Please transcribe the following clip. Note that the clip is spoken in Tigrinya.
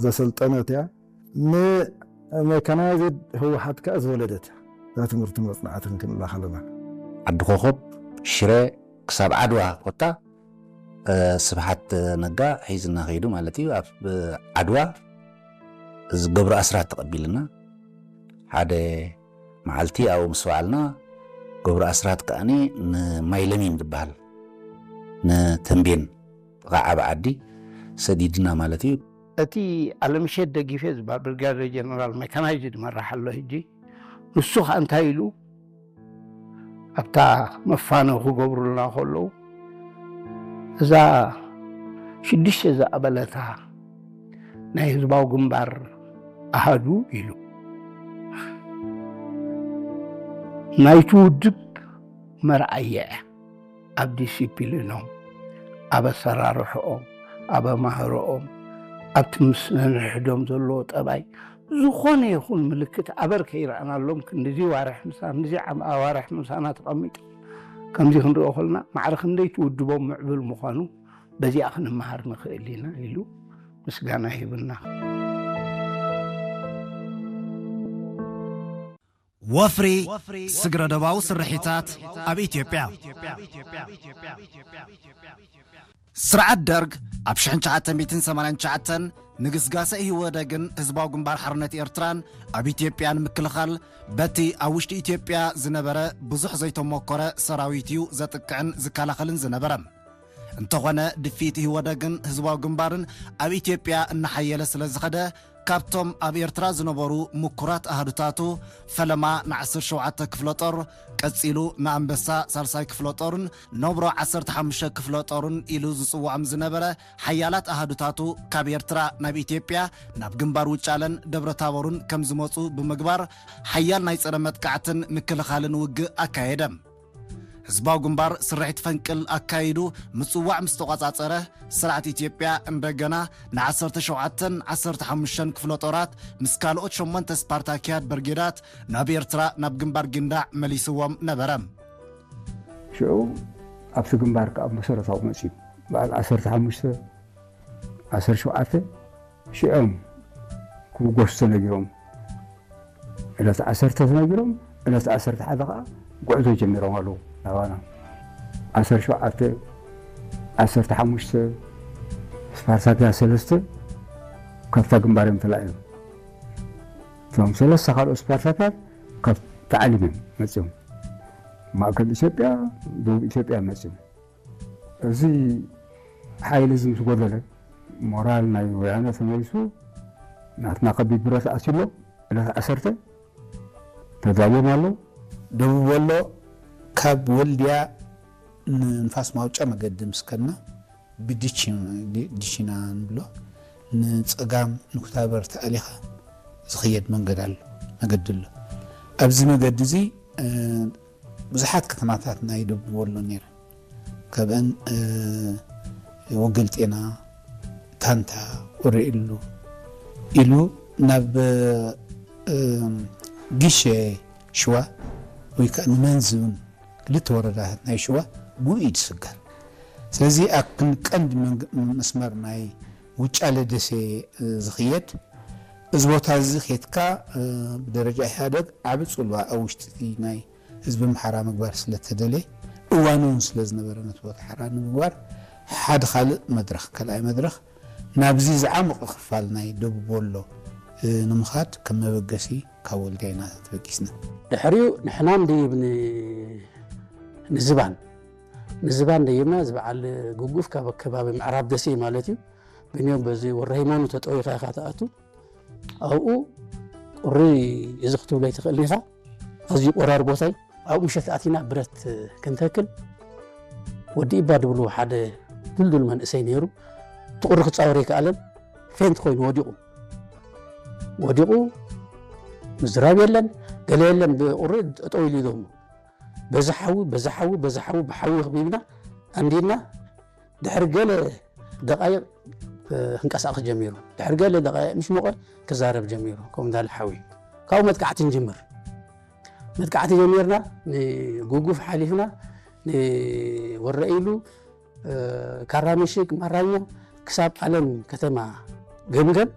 ዘሰልጠነት እያ። ንሜካናይዝድ ህወሓት ከኣ ዝወለደት እያ። እዛ ትምህርቲ መጽናዕትን ክንብላ ከለና። ዓዲ ኮኾብ፣ ሽረ፣ ክሳብ ዓድዋ ኮታ ስብሓት ነጋ ሒዝና ከይዱ ማለት እዩ። ኣብ ዓድዋ ዝገብሩ ኣስራት ተቐቢልና ሓደ መዓልቲ ኣብኡ ምስ በዓልና ገብሩ ኣስራት ከኣኒ ንማይለሚን ዝበሃል ንተንቤን ጥቓ ዓቢ ዓዲ ሰዲድና ማለት እዩ። እቲ ኣለምሸት ደጊፌ ዝበሃል ብርጋዴር ጀነራል ሜካናይዝድ መራሕ ኣሎ ሕጂ። ንሱ ከዓ እንታይ ኢሉ ኣብታ መፋነው ክገብሩልና ከለዉ እዛ ሽዱሽተ ዝኣበለታ ናይ ህዝባዊ ግንባር ኣሃዱ ኢሉ ናይቲ ውድብ መርኣያ እያ። ኣብ ዲሲፕሊኖም፣ ኣብ ኣሰራርሕኦም፣ ኣብ ኣማህርኦም፣ ኣብቲ ምስ ነንሕዶም ዘለዎ ጠባይ ዝኾነ ይኹን ምልክት ኣበር ከይረኣናሎም ክንድዚ ዋርሕ ምሳ ክንድዚ ዓም- ኣዋርሕ ምሳና ተቐሚጡ ከምዚ ክንሪኦ ከለና ማዕረ ክንደይ ትውድቦም ምዕብል ምዃኑ በዚኣ ክንመሃር ንኽእል ኢና ኢሉ ምስጋና ይህብና። ወፍሪ ስግረ ዶባዊ ስርሒታት ኣብ ኢትዮጵያ። ስርዓት ደርግ ኣብ ሽሕን ትሽዓተ ሚእትን ሰማንያን ትሽዓተን ንግስጋሰ ኢህወደግን ህዝባዊ ግንባር ሓርነት ኤርትራን ኣብ ኢትዮጵያ ንምክልኻል በቲ ኣብ ውሽጢ ኢትዮጵያ ዝነበረ ብዙሕ ዘይተሞከረ ሰራዊት እዩ ዘጥቅዕን ዝከላኸልን ዝነበረ። እንተኾነ ድፊት ኢህወደግን ህዝባዊ ግንባርን ኣብ ኢትዮጵያ እናሓየለ ስለ ዝኸደ ካብቶም ኣብ ኤርትራ ዝነበሩ ምኩራት ኣሃዱታቱ ፈለማ ንዓሰርተ ሸውዓተ ክፍለ ጦር ቀጺሉ ንኣንበሳ ሳልሳይ ክፍለ ጦርን ነብሮ ዓሰርተ ሓሙሽተ ክፍለ ጦርን ኢሉ ዝጽውዖም ዝነበረ ሓያላት ኣሃዱታቱ ካብ ኤርትራ ናብ ኢትዮጵያ ናብ ግንባር ውጫለን ደብረ ታቦርን ከም ዝመጹ ብምግባር ሓያል ናይ ጸረ መጥቃዕትን ምክልኻልን ውግእ ኣካየደ። ህዝባዊ ግንባር ስርሒት ፈንቅል ኣካይዱ ምጽዋዕ ምስ ተቋጻጸረ ስርዓት ኢትዮጵያ እንደገና ን ዓሰርተ ሸውዓተን ዓሰርተ ሓሙሽተን ክፍለ ጦራት ምስ ካልኦት ሸሞንተ ስፓርታኪያድ ብርጌዳት ናብ ኤርትራ ናብ ግንባር ጊንዳዕ መሊስዎም ነበረ። ሽዑ ኣብቲ ግንባር ከዓ መሰረታዊ መፅዩ በዓል ዓሰርተ ሓሙሽተ ዓሰርተ ሸውዓተ ሽዖም ክብገሱ ተነጊሮም ዕለት ዓሰርተ ተነጊሮም ዕለት ዓሰርተ ሓደ ከዓ ጉዕዞ ጀሚሮም ኣለዉ ናባና ዓሰርተ ሸውዓተ ዓሰርተ ሓሙሽተ ስፓርታክያ ሰለስተ ካብታ ግንባር እዮም ተላዒሎም እቶም ሰለስተ ካልኦት ስፓርታክያት ካብ ታዕሊም እዮም መፅዮም ማእከል ኢትዮጵያ ደቡብ ኢትዮጵያ መፅዮም እዚ ሓይሊ እዚ ምስ ጎደለ ሞራል ናይ ወያነ ተመሊሱ ናትና ከቢድ ብረት ኣትዩሎ ዕለት ዓሰርተ ተዳልዮም ኣለዉ። ደቡብ ወሎ ካብ ወልድያ ንንፋስ ማውጫ መገዲ ምስ ከድና ብዲቺና ንብሎ ንፀጋም ንኩታበር ተኣሊኻ ዝኽየድ መንገድ ኣሎ መገዲ ኣሎ። ኣብዚ መገዲ እዚ ብዙሓት ከተማታት ናይ ደቡብ ወሎ ነይረን። ካብአን ወገል ጤና፣ ታንታ፣ ወረኢሉ ኢሉ ናብ ጊሸ ሽዋ ወይ ከዓ ንመንዚ እውን ክልተ ወረዳታት ናይ ሽዋ ብኡ እዩ ዝስገር። ስለዚ ኣብ ቀንዲ መስመር ናይ ውጫለ ደሴ ዝኽየድ እዚ ቦታ እዚ ኬድካ ብደረጃ ኢህኣደግ ዓቢ ፅልዋ ኣብ ውሽጢ ናይ ህዝቢ ኣምሓራ ምግባር ስለተደልየ እዋኑ እውን ስለ ዝነበረ ነቲ ቦታ ሓራ ንምግባር ሓደ ካልእ መድረኽ ካልኣይ መድረኽ ናብዚ ዝዓመቐ ክፋል ናይ ደቡብ ወሎ ንምኻድ ከም መበገሲ ካብ ወልድያ ኢና ተበጊስና። ድሕሪኡ ንሕና ንድይብ ንዝባን ንዝባን ደይብና ዝበዓል ጉጉፍ ካብ ከባቢ ምዕራብ ደሴ ማለት እዩ። ብንዮም በዚ ወረ ሃይማኖት ተጠዊኻ ኢኻ ትኣቱ ኣብኡ ቁሪ እዚ ክትብሎ ኣይትኽእልን ኢኻ። ኣዝዩ ቆራር ቦታ እዩ። ኣብኡ ምሸት ኣቲና ብረት ክንተክል ወዲ ኢባ ድብሉ ሓደ ድልዱል መንእሰይ ነይሩ። እቲ ቁሪ ክፃወር ኣይከኣለን። ፌንት ኮይኑ ወዲቑ ወዲቑ ምዝራብ የለን ገለ የለን። ብቁሪ ጠጠው ኢሉ ይደሞ በዚ ሓዊ በዚ ሓዊ በዚ ሓዊ ብሓዊ ክቢብና ኣንዲና ድሕሪ ገለ ደቃይቕ ክንቀሳቐስ ጀሚሩ። ድሕሪ ገለ ደቃይቕ ምስ ሞቐ ክዛረብ ጀሚሩ። ከምኡ እንዳለ ሓዊ ካብኡ መጥቃዕቲ ንጅምር። መጥቃዕቲ ጀሚርና ንጉጉፍ ሓሊፍና ንወረኢሉ ካራሚሽክ ማራኛ ክሳብ ኣለም ከተማ ገምገም